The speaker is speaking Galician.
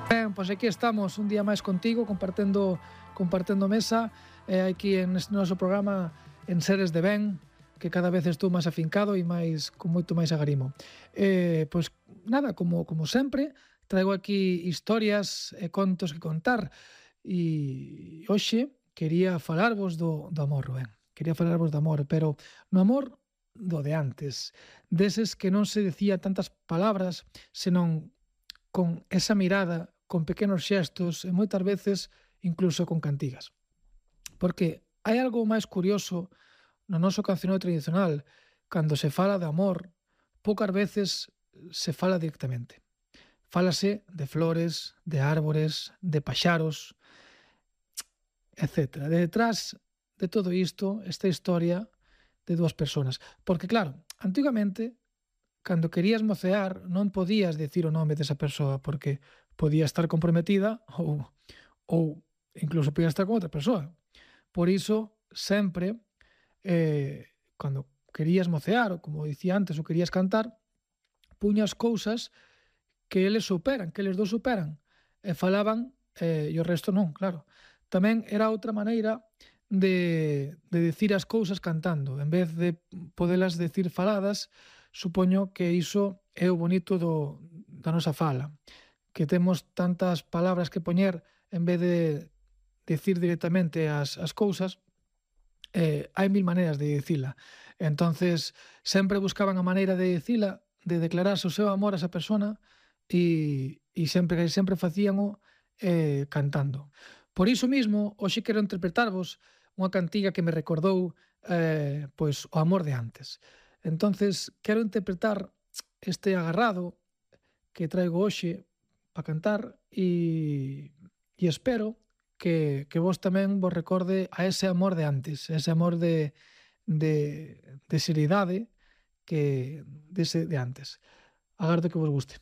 Ben, pois aquí estamos un día máis contigo compartendo mesa aquí en este noso programa En Seres de Ben, que cada vez estou máis afincado e con moito máis agarimo. Pois nada, como sempre, traigo aquí historias e contos que contar e hoxe quería falarvos do amor, ben. Quería falarvos do amor, pero no amor do de antes, deses que non se decía tantas palabras, senón con esa mirada, con pequenos xestos e moitas veces incluso con cantigas. Porque hai algo máis curioso no noso cancioneo tradicional, cando se fala de amor, poucas veces se fala directamente. Fálase de flores, de árbores, de paxaros, etc. Detrás de todo isto, esta historia de dúas persoas. Porque claro, antigamente, cando querías mocear, non podías dicir o nome desa persoa, porque podía estar comprometida ou incluso podía estar con outra persoa. Por iso, sempre, cando querías mocear, ou como dicía antes, ou querías cantar, puñas cousas que eles superan, que eles dous superan, e falaban, e o resto non, claro. Tamén era outra maneira de dicir as cousas cantando, en vez de podelas decir faladas, supoño que iso é o bonito da nosa fala, que temos tantas palabras que poñer en vez de dicir directamente as cousas, hai mil maneiras de dicila. Entonces, sempre buscaban a maneira de dicila, de declararse o seu amor a esa persona e sempre facíano cantando. Por iso mismo, hoxe quero interpretarvos unha cantiga que me recordou pois o amor de antes. Entonces, quero interpretar este agarrado que traigo hoxe para cantar e espero que vos tamén vos recorde a ese amor de antes, ese amor de seriedade que dese de antes. Agardo que vos guste.